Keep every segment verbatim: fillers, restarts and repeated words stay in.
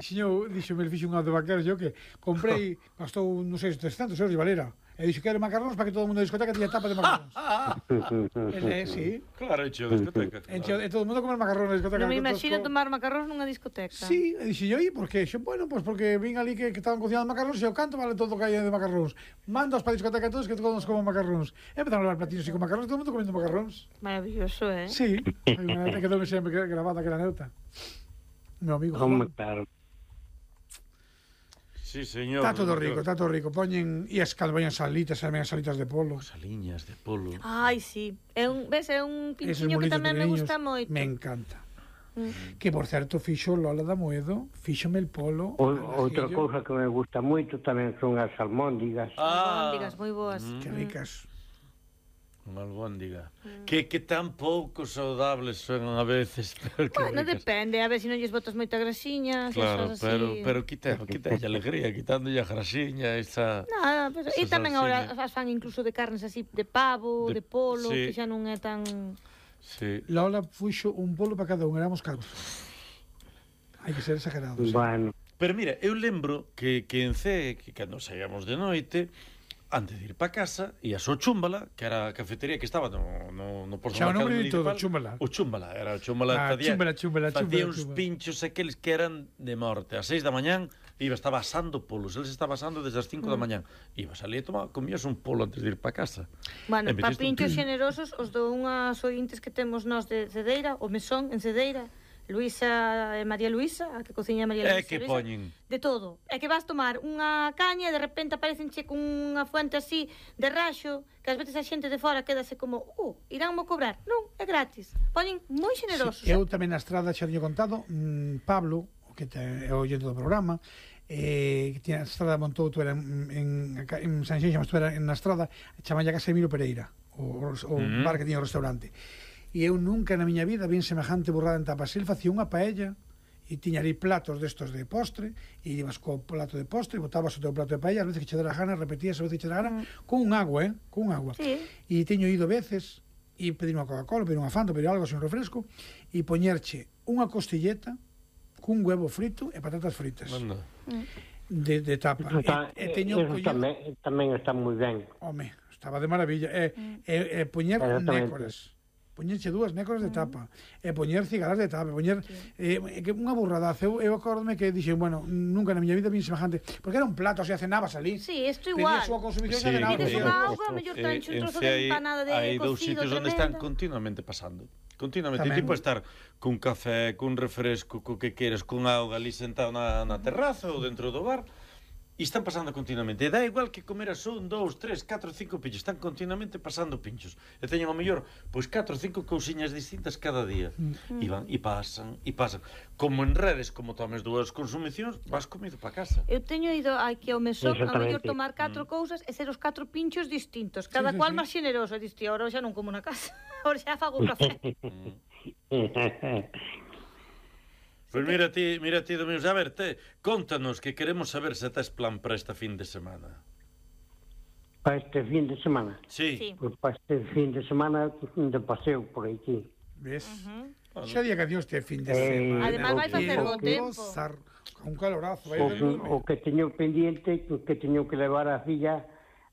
Xiño, dixo, me fixo unha de vaqueros, yo que comprei, gastou, non sei, trescentos euros de valera. E dixo que era macarróns para que todo o mundo da discoteca tiña tapa de macarróns. Ele, sí. Claro, encheu a discoteca. Encheu, e todo o mundo comer macarróns na discoteca. Non me imagino tomar macarróns nunha discoteca. Sí, e dixo, e por que? Xo, bueno, pois pues porque vin ali que, que estaban cocinando macarróns e o canto vale todo o que hai de macarróns. Mandos para a discoteca todos que todos coman macarróns. E empezaron a levar platinos e con macarróns, todo o mundo comendo macarróns. Maravilloso, eh? Sí, hai unha neta que quedou sempre grabada que era neuta. Meu amigo. Como claro. Sí, señor. Está todo rico, está todo rico. Poñen e as calboñas salitas, as salitas de polo. Saliñas de polo. Ai, sí. É un, ves, é un pinchiño que tamén me gusta moito. Me encanta. Mm. Que, por certo, fixo Lola da Moedo, fíxome el polo. O, outra cousa que me gusta moito tamén son as almóndigas. Ah. Almóndigas, moi boas. Mm. Que ricas. Unha albóndiga. Mm. Que, que tan pouco saudables son a veces. Pero bueno, ricas. Depende, a ver se si non lles botas moita grasiña. Claro, pero, pero quita, quita a alegría, quitándolle a grasiña, esa... Nada, pero, e tamén agora as fan incluso de carnes así, de pavo, de, de polo, sí. Que xa non é tan... Sí. Lola fuxo un polo para cada un, éramos catro. Hai que ser exagerados. Bueno. Pero mira, eu lembro que, que en C, que cando saíamos de noite... Antes de ir para casa, ías ao Chúmbala, que era a cafetería que estaba no, no, no posto mercado municipal. Todo, Chúmbala. O Chúmbala, era o Chúmbala. Ah, facía, chúmbala, chúmbala, facía chúmbala, uns chúmbala. pinchos aqueles que eran de morte. A seis da mañán, iba, estaba asando polos. Eles estaba asando desde as cinco mm. da mañán. Ibas ali e tomaba, comías un polo antes de ir para casa. Bueno, para pinchos un... xenerosos, os do unhas ointes que temos nós de Cedeira, o mesón en Cedeira, Luisa e María Luisa, a que cociña María Luisa. É que poñen. De todo. É que vas tomar unha caña e de repente aparecenche con unha fuente así de raxo, que ás veces a xente de fora quedase como, uh, iránmo cobrar. Non, é gratis. Poñen moi xenerosos. Sí, eu tamén na estrada xa teño contado, mmm, Pablo, que te, é o oyente do programa, eh, que tiña a estrada montou, tu era en, en, en San Xenxo, mas tu era na estrada, chama ya Casemiro Pereira, o, o mm. bar que tiña o restaurante. E eu nunca na miña vida vin semejante burrada en tapas. El facía unha paella e tiña ali platos destos de postre e ibas co plato de postre e botabas o teu plato de paella, a veces que che dera gana, repetías a veces que che dera gana, mm. con un agua, eh? Con un agua. Sí. E teño ido veces e pedir unha Coca-Cola, pedir unha Fanta, pedir algo así, un refresco e poñerche unha costilleta cun huevo frito e patatas fritas. Manda. De, de tapa. Está, e, e teño eso collido... tamén, tamén está moi ben. Home, estaba de maravilla. E, mm. e, e poñer nécoras. Poñerche dúas nécoras de tapa, mm. e poñer cigalas de tapa, poñer sí. eh, que unha burradaza. Eu, eu acordome que dixen, bueno, nunca na miña vida vin semejante, porque era un plato, se cenabas ali. Sí, isto igual. Pedías súa consumición sí, e cenabas. Pides unha auga, mellor tancho un trozo de empanada de cocido. Hai dous sitios onde están continuamente pasando. Continuamente, tipo estar cun café, cun refresco, co que queres, cun auga ali sentado na, na terraza ou dentro do bar. E están pasando continuamente. E dá igual que comeras un, dous, tres, catro, cinco pinchos. Están continuamente pasando pinchos. E teñen ao mellor, pois catro, cinco cousiñas distintas cada día. Mm. E van, e pasan, e pasan. Como en redes, como tomes dúas consumicións, vas comido para casa. Eu teño ido aquí ao mesón, a mellor tomar catro mm. cousas e ser os catro pinchos distintos. Cada sí, sí, cual sí. máis xeneroso. E diste, ahora xa non como na casa. Ahora xa fago café. Pois pues mira ti, mira ti, Domingos, a ver, te, contanos que queremos saber se tes plan para esta fin de semana. Para este fin de semana? Sí. sí. Pois pues para este fin de semana de paseo por aquí. Ves? Uh -huh. Xa día que adiós este fin de semana. Eh, Además vai facer bo tempo. Un calorazo. O, o que teño pendiente, que teño que levar a filla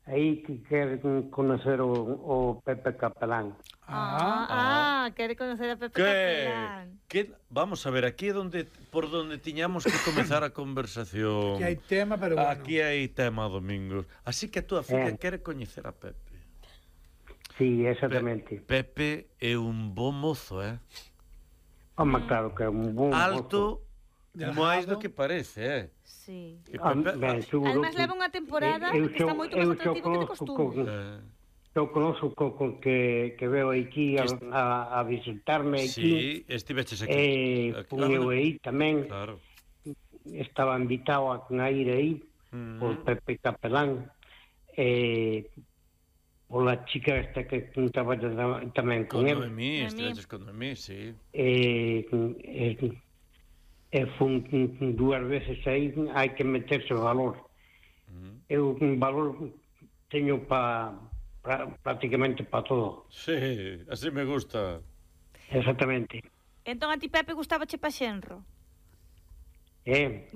aí que quer conocer o, o Pepe Capelán. Ah, ah, ah, quere conocer a Pepe Capelán. Que, vamos a ver, aquí é donde, por donde tiñamos que comezar a conversación. Aquí hai tema, pero bueno. Aquí hai tema, Domingos. Así que a túa filla eh. quere coñecer a Pepe. Sí, exactamente. Pe Pepe é un bo mozo, eh? Home, claro que é un bo mozo. Alto, máis do que parece, eh? Sí. Ah, ben, además leva unha temporada eu, eu, que está moito máis atractivo que de costume. Eh. Eu conozco co, co, que, que veo aquí a, a, a visitarme aquí. Sí, estiveches aquí. Eh, claro, eu aí tamén. Claro. Estaba invitado a, a ir aí mm. por Pepe Capelán. Eh, pola chica esta que estaba tamén con, con él. Con Noemí, estiveches con Noemí, sí. Eh, eh, eh, fun dúas veces aí, hai que meterse o valor. Mm. Eu un valor teño para Pra, prácticamente para todo. Sí, así me gusta. Exactamente. Entón a ti, Pepe, gustaba che pa xenro? Eh,